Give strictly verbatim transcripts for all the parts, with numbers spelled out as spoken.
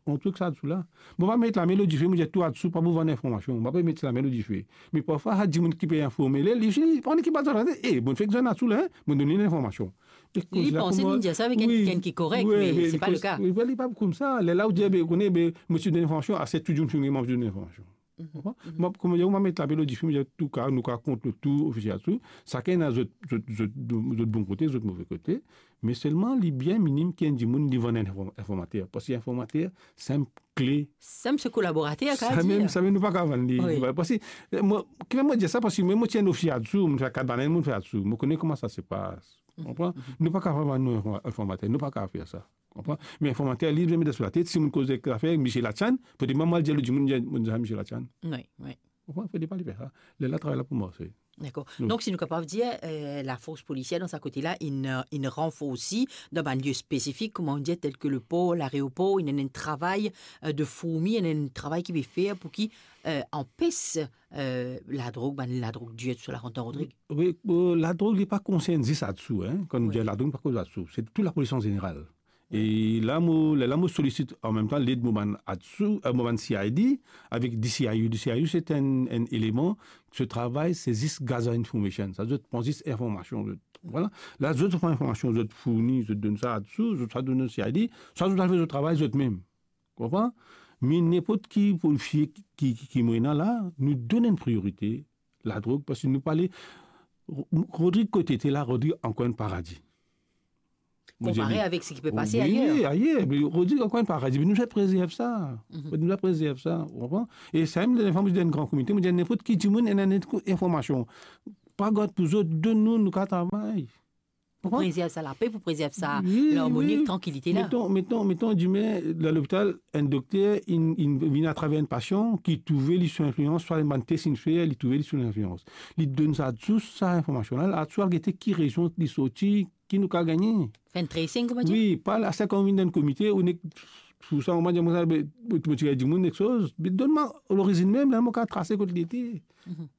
Mo trouv sa dzout la. Mo pa met lame lor dife, mo dir tou dzout pa pou vann informasion. Mo pa met lame lor dife. Me parfwa, sa dimoun ki pe informe li, li, li, li, pandan ki pa zot, eh, bon, fer zot dzout la, hein, mo donn li linformasion. Li panse li dir sa avek enn, wi, enn ki korek, wi, me se pa le ka. Wi, li pa koumsa. Lerla ou dir, be, ou kone, be, mo ti donn informasion, ase tou dimoun fini, mo donn informasion. Konpran? Mo, kouma dir, mo pa met lame lor dife, mo dir, antouka, nou ka kont nou tou, ofisie dzout, sakenn ena zot, zot, zot, zot bon kote, zot move kote, me selman li bien minim ki enn dimoun li vann enn inform-, informater, parski informater, se enn kle. Sa mem se kolaborater, ka dir. Sa mem, sa mem nou pa kav vann li. Wi. Parski, eh, mo, ki mo dir sa, parski mem mo ti enn ofisie dzout, mo fer kat banen, mo fer dzout. Mo kone kouma sa se pas. Konpran? Nou pa kav vann nou inform-, informater, nou pa kav fer sa. Konpran? Me informater, li, li met dan so latet, si mo koz ek zafer, misie Latian, fode mwa mo al dir lor dimoun, mo dir, mo dir sa misie Latian. Wi, wi. Konpran? Fode pa li fer sa. Lerla travay la pou marse. Dakor. Wi. Donk, si nou kapav dir, eh, lafors polisier dan sa kote la, inn, eh, inn ranforsi dan bann lie spesifik, kouma nou dir, tel ke lepor, laeropor, inn ena enn travay, eh, de fourmi, inn ena enn travay ki pe fer pou ki, eh, anpes, eh, ladrog, bann ladrog dir, tousala rant dan Rodrig. Wi, eh, ladrog, li pa konsern zis dzout, hein. Kan nou dir ladrog, nou pa koz dzout. Se tou lapolis an zeneral. E la mo, la, la mo solisit an mem tan led mo bann dzout, eh, mo bann C I D avek D C I U. D C I U, se enn, enn eleman, so travay, se zis gather information. Sa, zot pran zis informasion, zot, vwala. La, zot pran informasion, zot fourni, zot donn sa dzout, zot sa donn C I D, sa zot al fer zot travay zot mem. Konpran? Me ninport ki polisie ki, ki, ki, ki mo ena la, nou donn enn priorite ladrog, parski nou pale, Ro-, Rodrig kot li ete la, Rodrig ankor enn paradi. Mo dir, konpare avek seki pe pase ayer. Wi, ayer, me Rodrig ankor enn paradi, me nou bizin prezerv sa. Nou bizin prezerv sa, ou konpran? E sa mem, lerla mo dir enn gran komite, mo dir ninport ki dimoun ena enn informasion, pa gard pou zot, donn nou, nou kav travay. Pou prezerv sa lape, pou prezerv sa larmoni, wi, trankilite la. Meton, meton, meton, dime, dan lopital, enn dokter, inn, inn vinn atraver enn pasian ki trouve li sou linflians, swa bann tes inn fer, li trouve li sou linflians. Li donn sa dzout, sa informasion la, la dzout al gete ki rezon li sorti, ki nou kav gagne. Fer enn tracing, kouma dir? Wi, pa la, sa kan ou vinn dan enn komite, ou nek, pou sa, ou dir, mo, be, mo ti gagn dimoun, kiksoz, be donn mwa lorizinn mem, la, mo kav trase kot li ete.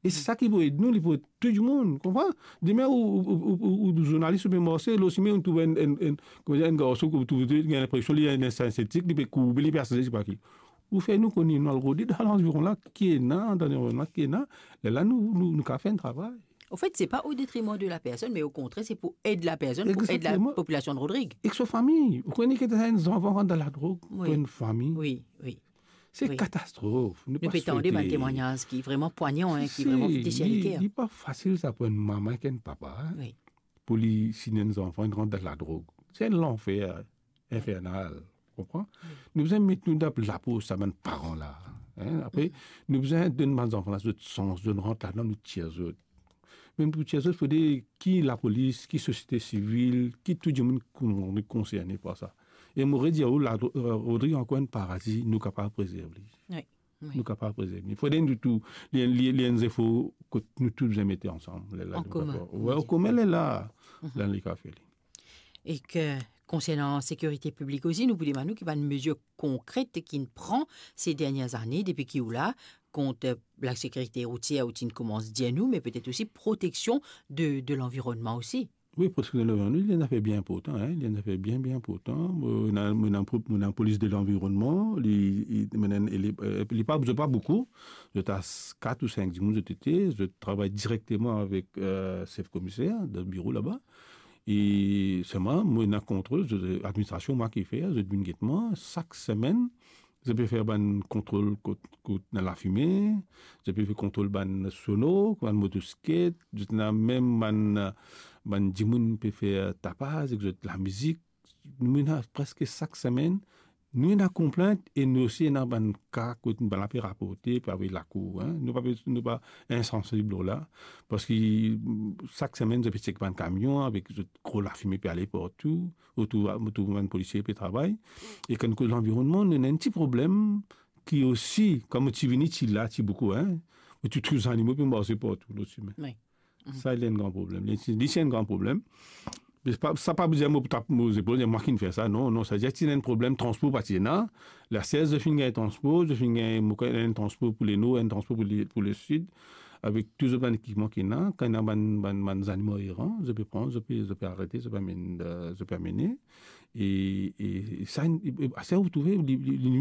E se sa ki pou ed nou, li pou ed tou dimoun, konpran? Dime ou, ou, ou, ou, ou zournalis, ou pe marse, lor sime, ou trouv enn, enn, enn, kouma dir, enn garson, ou trouv, ou gagn linpresion li ena enn sintetik, li pe kourbe, li pe asize, se pa ki. Ou fer nou kone, nou al rode dan lanviron la, ki ena, dan lanviron la, ki ena, lerla nou, nou, nou kav fer enn travay. Anfet, se pa o detriman de la personn, me o kontrer, se pou ed la personn, pou ed la popilasion de Rodrig. Ek so fami. Ou kone ki ena enn zanfan rant dan ladrog, wi, pou enn fami. Wi, wi. Se, wi, katastrof. Nou pe tande bann temwagnaz ki vreman pwagnan, hein, ki vreman fer ler. Li, li pa fasil sa pou enn mama ek enn papa, hein, wi, pou li, si enn zanfan inn rant dan ladrog. Se enn lanfer infernal, konpran? Wi. Nou bizin met nou dan lapo sa bann paran la, hein? Apre, nou bizin donn bann zanfan la zot sans, zot rant ladan, nou tir zot. Mem pou tir zot, fode ki lapolis, ki sosiete sivil, ki tou dimoun kon-, konserne par sa. E mo redir ou, la, eh, Rodrig ankor enn paradi, nou kapav prezerv li. Wi, wi. Nou kapav prezerv li. Fode nou tou, li, li, li enn zefor kot nou tou bizin mete ansam. An komin. Wi, an komin, lerla, la, li kav fer li. Ek konsernan sekirite piblik osi, nou pou demann ou ki bann mezir konkret ki'nn pran se dernie zane, depi ki ou la, kont, eh, lasekirite routier, ou ti'nn koumans dir nou, me petet osi proteksion de, de lanvironnman osi. Wi, proteksion de lanvironnman, li enn zafer bien inportan, hein, li enn zafer bien, bien inportan. Mo ena, mo ena, mo ena polis de lanvironnman, li, li, mo ena, li, eh, li pa, zot pa boukou, zot a s-, kat ou sink dimoun zot ete, zot travay direkteman avek, eh, sef komiser, dan biro laba. E selman, mo ena kontrol, zot, administrasion, mwa ki fer, zot vinn get mwa, sak semenn, zot pe fer bann kontrol kot, kot ena lafime, zot pe fer kontrol bann sono, bann motosiklet, zot ena mem bann, bann dimoun pe fer tapaz ek zot lamizik. Nou ena preske sak semenn, nou ena konplint e nou osi ena bann ka kot bann la pe raporte, pe avoy lakour, hein. Nou pa pe, nou pa insansib lor la, parski, mm, sak semenn, zot pe tchek bann kamion avek zot gro lafime pe ale partou, otour, otour bann polisie pe travay. E kan nou koz lanvironnman, nou ena enn ti problem ki osi, kan mo ti vini, ti la, ti boukou, hein, mo ti trouv zanimo pe marse partou lor simin. Wi. Sa, li enn gran problem. Li, li, li enn gran problem. Me sa pa, sa pa pou dir mo pou tap mo zepol, dir mwa ki'nn fer sa. Non, non, sa dir ti ena enn problem, transpor pa ti ena. La, sez zot finn gagn transpor, zot finn gagn, mo krwar enn transpor pou Lenor, enn transpor pou le, pou Lesid, avek tou zot bann ekipman ki ena. Kan ena bann, bann, bann zanimo eran, zot pe pran, zot pe, zot pe arete, zot pe amenn, eh, zot pe amene. E, e, e sa, e, e, sa ou trouve, li, li, li,